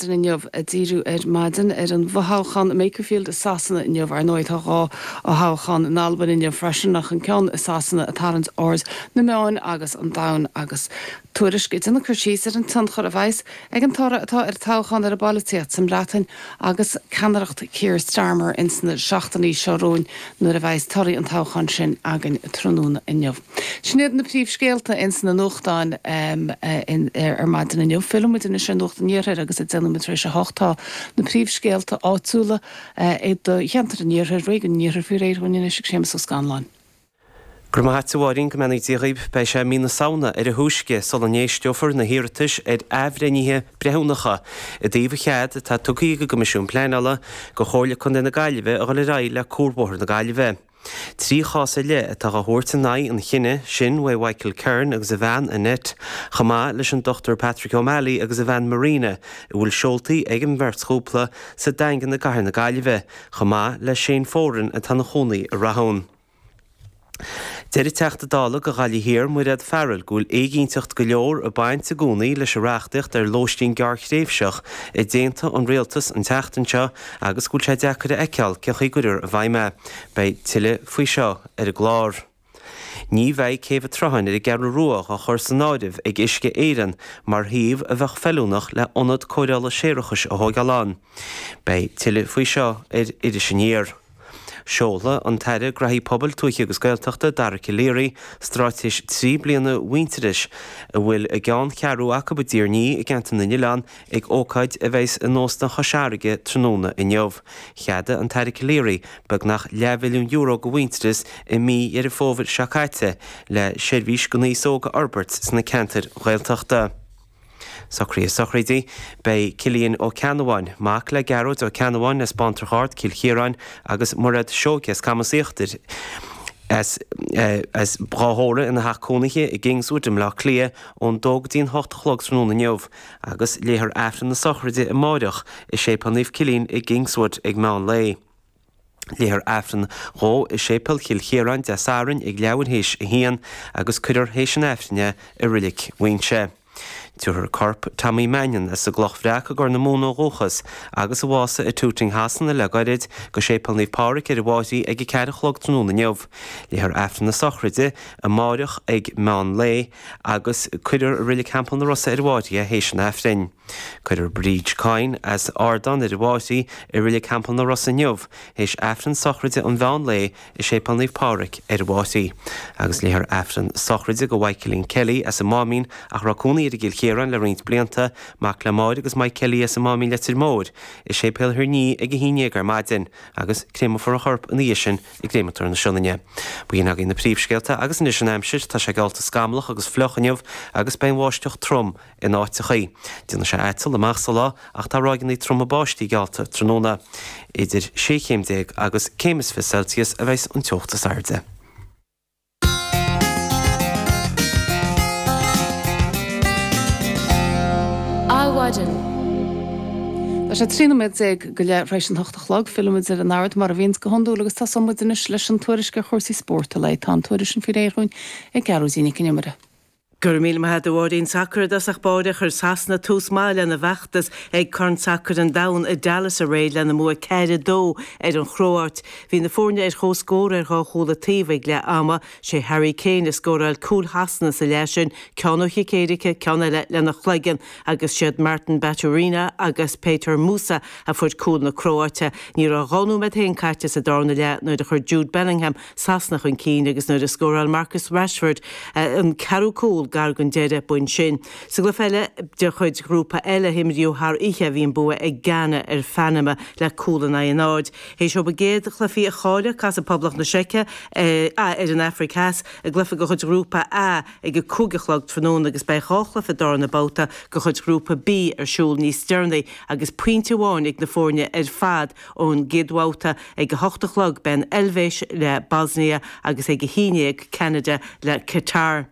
Inniu, ag díriú ar maidin ar an bhfothoghchán i Makerfield i Sasana inniu. Ar ndóigh tá 2 fhothoghchán in Albain inniu freisin ach an ceann i Sasana ag tarraingt aird na meáin agus an domhain agus Tuairisc ag déanamh cur síos ar an tionchar a bheas ag an toradh atá ar an toghchán ar an bpolaitíocht sa mBreatain agus ceannaireacht Keir Starmer ins na seachtainí seo romhainn nuair a bheas torthaí an toghcháin sin againn tráthnóna inniu. Sin iad na príomhscéalta ins na nuachtáin ar maidin inniu. Fillfidh muid anois ar Nuacht an Iarthair agus ag 10 nóiméad tar éis a 8 tá na príomhscéalta áitiúla i do cheantar an Iarthair, Réigiún an Iarthair faoi réir dhúinn anois ag Séamus Ó Scanláin. Go raibh maith a't a Mháirín, go mbeannaí Dia dhaoib. Beidh sé mí na Samhna ar a thúisce sula n-éisteofar na hiarratais ar athbhreithnithe breithiúnacha i dtaobh an chead atá tugtha ag an gCoimisiún Pleanála go Chomhairle Contae na Gaillimhe a dhul ar aghaidh le Cuarbhóthar na Gaillimhe. 3 chás ar leith atá dhá thabhairt in aghaidh an chinnidh sin uaidh Mhichael Kern agus a bhean Annette, chomh maith leis an Dr Patrick O'Malley agus a bhean Marina, a bhfuil seoltaí ag an mbeirt chúpla sa Daingean i gcathair na Gaillimhe, chomh maith le Shane Foran atá ina chónaí i Rathún. Deir an Teachta Dála do Ghaillimh Thiar, Mairéad Farrell, go bhfuil éiginnteacht go leor ag baint i gcónaí leis an reachtaíocht ar lóistín gearrthréimhseach a d'aontaigh an Rialtas an tseachtain seo agus go bhfuil sé deacair a fheiceáil cén chaoi a gcuirfear i bhfeidhm é. Beidh tuilleadh faoi seo ar an gclár. Ní bheidh Céibh an tSrutháin ar an gCeathrú Rua á chur san áireamh ag Uisce Éireann mar shuíomh a bheadh feiliúnach le ionad cóireála séarachais a thóigeáil ann. Beidh tuilleadh faoi seo ar Iris Aniar. Seolfaidh an tAire Graithí Pobail, Tuaithe agus Gaeltachta, Dara Calleary, straitéis 3 bliana Mhuintearais, a bhfuil a gceanncheathrú acu i dTír an Fhia i gCeantar na nOileán, ag ócáid a bheas in Óstán Chois Fharraige tráthnóna inniu. Cheadaigh an tAire Calleary beagnach leathmhilliún euro do Mhuintearas i mí Dheireadh Fómhair seo caite le seirbhís don aos óg a fhorbairt sna ceantair Ghaeltachta. Socruithe sochraide, Beidh Cillian Ó Ceannabháin, mac le Gearóid Ó Ceannabháin as Baintreach Ard, Cill Chiaráin, agus Mairéad Seoighe as Camas Íochtair, as as dhá thórramh ina theach cónaithe i gKingswood i mBleá Cliath ón dó go dtí an hocht a chlog tráthnóna inniu agus léifear Aifreann na sochraide amáireach i Séipéal Naomh Cillian i gKingswood ag meán lae. Léifear Aifreann dhó i Séipéal Chill Chiaráin Dé Sathairn ag leathuair théis a haon agus cuirfear théis an Aifrinn é i Roilig Mhuinseo. Tabharfar corp Tommy Mannion as an gCloch Bhreac i gCorr na Móna ó dhúchas agus a bhásaigh i Tooting Shasana le gairid, go Séipéal Naomh Pádraig ar an bhFairche ag a ceathair a chlog tráthnóna inniu. Léifear Aifreann na sochraide amáireach ag meán lae agus cuirfear i Reilig Theampall na Rosa ar an bhFairche é théis an Aifrinn. Cuirfear Bríd Coyne as Ardán ar an bhFairche i Reilig Theampall na Rosa inniu théis Aifreann sochraide an mheán lae i Séipéal Naomh Pádraig ar an bhFairche. Agus léifear Aifreann sochraide do Mhichaelín Kelly as an Máimín ach a raibh cónaí air i gCill Chiaráin le roinnt blianta, mac le Máire agus Mike Kelly as an Máimín Leitir Móir, i Séipéal Thír an Fhia ag a haon dhéag ar maidin agus créamfar a chorp ina dhiaidh sin i gCréamatóir na Sionainne. B'in agaibh na príomhscéalta agus anois an aimsir, tá sé geallta scamallach agus fliuch inniu agus beidh an bháisteach trom In áiteachaí, déanfaidh sé aiteal amach sa lá ach tá ráigeanna troma báistí geallta tráthnóna. Idir 16 chéim agus céim is 20 Celsius a bheas an teocht is airde. Adhmhaidin. Tá sé 13 nóiméad go leith tar éis an hocht a chlog. Fillfimid ar an Ard mar a bhíonns go hiondúil agus tosóidh muid anois leis an tuairisc ar chúrsaí spóirt an lae. Tá an tuairisc sin faoi réir dhúinn ag Gearóidín Nic an Iomaire. Go raibh míle maith agat a Mháirín. Sacar i dtosach báire, chuir Sasana tús maith lena bhfeachtas ag Corn Sacair an Domhain i Dallas aréir lena mbua 4, 2 ar an Chróáit. Bhí na foirne ar comhscór ar dhá chúl an taobh ag leath ama. Sé Harry Kane a scóráil cúil Shasana sa leath sin, ceann ó chic éirice, ceann eile lena chloigeann, agus siad Martin Baturina agus Petar Musa a fuair cúil na Cróáite. Ní raibh dhá nóiméad féin caite sa darna leath nuair a chuir Jude Bellingham Sasana chun cinn agus nuair a scóráil Marcus Rashford an ceathrú cúl gar don deireadh, b'in sin. Sa gcluiche eile de chuid Ghrúpa L a himríodh thar oíche bhí an bua ag Ghana ar Phanama le cúl in aghaidh a náid. Théis dóibh a gcéad chluichí a chailleadh, casfaidh Poblacht na Seice ar an Afraic Theas i gcluiche de chuid Ghrúpa A ag a 5 a chlog tráthnóna agus beidh dhá chluiche darna babhta de chuid Ghrúpa B ar siúl níos deireanaí agus pointe amháin ag na foirne ar fad Ón gcéad bhabhta ag a hocht a chlog beidh an Eilvéis le Bosnia agus ag a haon dhéag Ceanada le Qatar.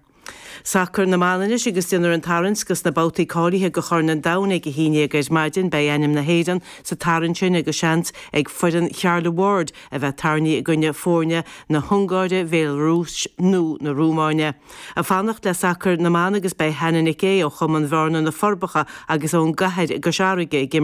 Sacar na mban anois agus déanfar an tarraingt dos na babhtaí cáilithe do Chorn an Domhain ag 11 ar maidin. Beidh ainm na hÉireann sa tarraingt sin agus seans ag foireann Charla Ward a bheith tarraingthe i gcoinne foirne na hUngáire, Bhéalarúis nó na Rúmáine. Ag fanacht le sacar na mban agus beidh Hannah Nic Aodha ó Chumann Bhearna, Na Forbacha agus ón gCathair i gCois Fharraige ag imirt.